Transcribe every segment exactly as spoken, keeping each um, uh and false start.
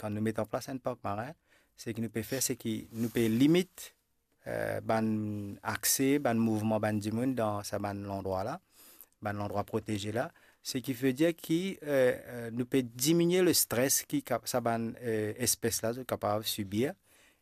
kan nou met an plas enn park marin, seki nou pe fer, seki nou pe limit, eh, bann akse, bann mouvman bann dimoun dan sa bann landrwa la, bann landrwa proteze la. Seki ve dir ki, eh, eh, nou pe diminie le stres ki kap-, sa bann, eh, espes la zot kapav sibir.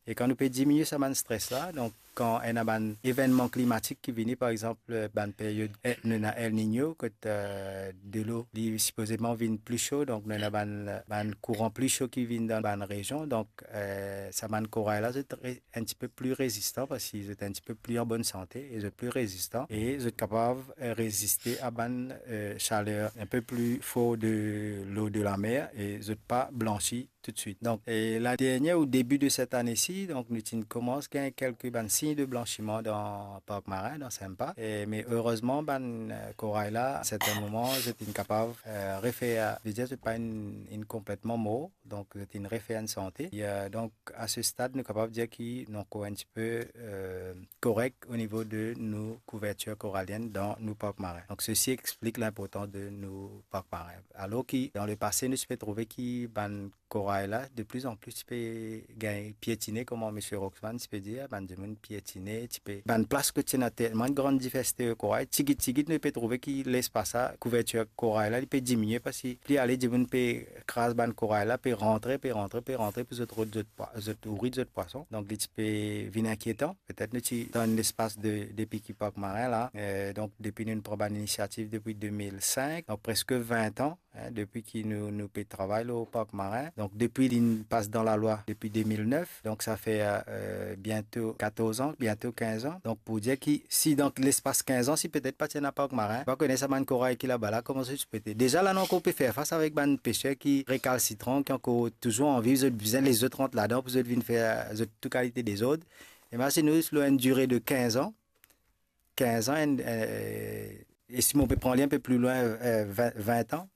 E kan nou pe diminie sa bann stres la, donk kan ena bann evennman klimatik ki vini, par exanp, eh, bann period, eh, nou ena El Niño, kot, eh, delo li sipozeman vinn pli so, donk nou ena bann, bann kouran pli so ki vinn dan bann rezion, donk, eh, sa bann koray la, zot re-, enn tipe pli rezistan, parski zot enn tipe pli an bonn sante, e zot pli rezistan, e zot kapav, eh, reziste a bann, eh, saler enn pe pli for de lo de lamer, e zot pa blansi toutswit. Donk, e ladernie o debi de set ane si, donk nou ti komans gagn kelke bann sign de blansiman dan park marin, dan Sempa. E, me erezman, bann, eh, koray la, a serten moman, zot inn kapav, eh, refer, ve dir, zot pa inn, inn konpletman mor, donk zot inn refer enn sante. E, eh, donk, a se stad, nou kapav dir ki nou ankor enn tipe, eh, korek o nivo de nou kouvertir koralienn dan nou park marin. Donk, sesi explik linportans de nou park marin. Alor ki, dan lepase, nou ti pe trouve ki bann koray la, de pli an pli ti pe gagn pietine, kouma misie Roxman ti pe dir, bann dimoun pietine, ti pe, bann plas kot ti ena telman enn gran diversite koray, tigit tigit nou pe trouve ki lespas la, kouvertir koray la, li pe diminie, parski pli ale dimoun pe kraz bann koray la, pe rantre, pe rantre, pe rantre pou zot rod zot pwa-, zot ourit zot pwason. Donk, li ti pe vinn inkietan. Petet nou ti dan enn lespas de, depi ki park marin la, eh, donk depi nou pran bann inisiativ depi de mil senk, donk preske vin an, hein, depi ki nou, nou pe travay lor park marin. Donk, depi li pas dan lalwa depi de mil nef, donk sa fer, eh, biento katorz an, biento kinz an. Donk, pou dir ki si dan lespas kinz an, si petet pa ti ena park marin, pa kone sa bann koray ki laba la, kouma sa ti pe ete. Deza la, nou ankor pe fer fas avek bann peser ki rekalsitran, ki ankor touzour anvi, zot bizin les zot rant ladan pou zot vinn fer zot tou kalite dezord. E me si nou, lor enn dire de kinz an, kinz an, enn, eh, e si mo pe pran li enn pe pli lwin, eh, vin, vin an,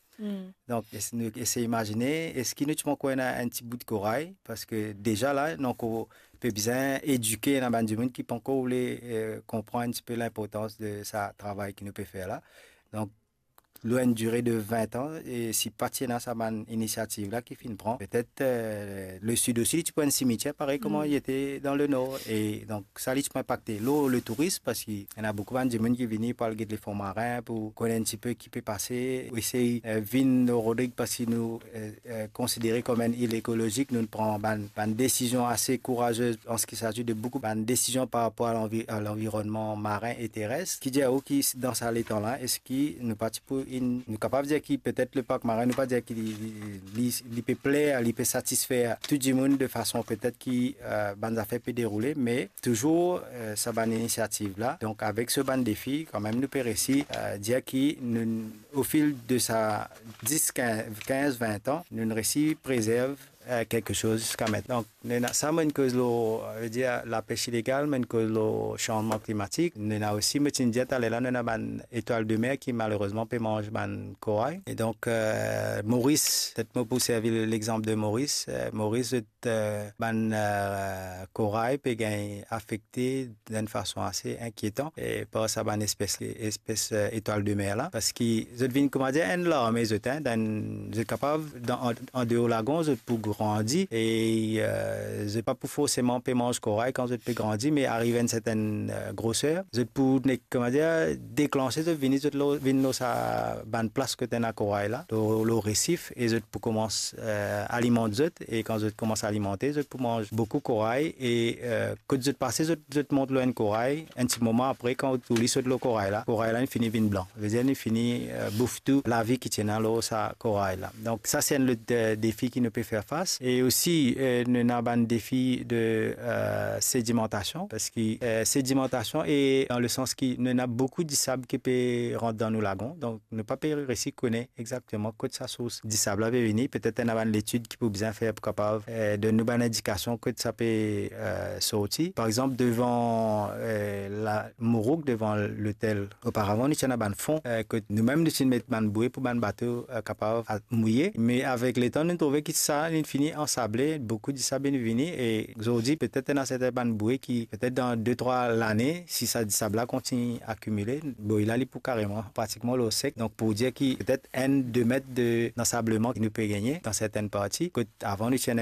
donk, es-, nou esey imazine, eski nou ti pankor ena enn ti bout koray? Parski deza la, nou ankor pe bizin edike ena bann dimoun ki pankor oule, eh, konpran enn tipe linportans de sa travay ki nou pe fer la. Donk, lor enn dire de vin an, e si pa ti ena sa bann inisiativ la ki finn pran, petet, eh, le sid osi, li ti pou enn simitier, parey kouma li ete dan le nor. E donk, sa li ti pou inpakte lor le tourism, parski ena boukou bann dimoun ki vini pou al get lefon marin, pou konn enn tipe ki pe pase, esey, eh, vinn lor Rodrig, parski nou, eh, eh, konsidere kom enn il ekolozik, nou pran bann, bann desizion ase kouraze an se ki s'agit de boukou bann desizion par rapor a lanvi-, a lanvironnman marin e teres. Ki dir ou ki s-, dan sa letan la, eski nou pa ti pou inn, nou kapav dir ki petet le park marin, nou pa dir ki li, li, li, li pe pler, li pe satisfer tou dimoun de fason petet ki, eh, bann zafer pe deroule, me touzour, eh, sa bann inisiativ la. Donk, avek sa bann defi, kanmem nou pe resi, eh, dir ki nou, o fil de sa dis, kinz, kinz, vin an, nou resi prezerv, eh, kiksoz ziska mintnan. Donk, nou ena sa, mo inn koz lor, ve dir, lapes ilegal, mo inn koz lor sanzman klimatik. Nou ena osi, mo ti dir taler la, nou ena bann zetwal de mer ki malerezman pe manz bann koray. E donk, eh, Moris, petet mo pou servi lexanp de Moris. Eh, Moris, zot, eh, bann, eh, koray pe gagn afekte dan enn fason ase inkietan, e par sa bann espes, espes, eh, zetwal de mer la, parski zot vinn, kouma dir, enn larme zot, hein, dan, zot kapav, dan, an, andeor lagon, zot pou grandi, e, eh, zot pa pou forseman pe manz koray kan zot pe grandi, me ariv enn sertenn, eh, groser, zot pou ne-, kouma dir, deklanse, zot vini, zot lor, vinn lor sa bann plas kot ena koray la, lor, lor resif, e zot pou koumans, eh, alimant zot, e kan zot koumans alimante, zot pou manz boukou koray, e, eh, kot zot pase, zot, zot mont lor enn koray, enn ti moman apre, kan ou li sot lor koray la, koray la, li fini vinn blan. Ve dir, li fini, eh, bouf tou lavi ki ti ena lor sa koray la. Donk, sa se enn lot, eh, defi ki nou pe fer fas. E osi, eh, nou ena bann defi de, eh, sedimantasion, parski, eh, sedimantasion, e dan le sans ki nou ena boukou disab ki pe rant dan nou lagon. Donk, nou pa pe resi kone exakteman kot sa sours disab la pe vini. Petet ena bann letid ki pou bizin fer pou kapav, eh, donn nou bann indikasion kot sa pe, eh, sorti. Par exanp, devan, eh, la Mourouk, devan lotel, oparavan, nou ti ena bann fon, eh, kot nou mem nou ti met bann boue pou bann bato, eh, kapav al mouye. Me avek letan, nou trouve ki sa, li fini ansable, boukou disab inn vini, e zordi, petet ena serten bann boue ki, petet dan de, trwa lane, si sa disab la kontign akimile, boy la, li pou kareman pratikman lor sek. Donk, pou dir ki petet enn, de met de, dansableman ki nou pe gagne dan sertenn parti, kot avan nou ti ena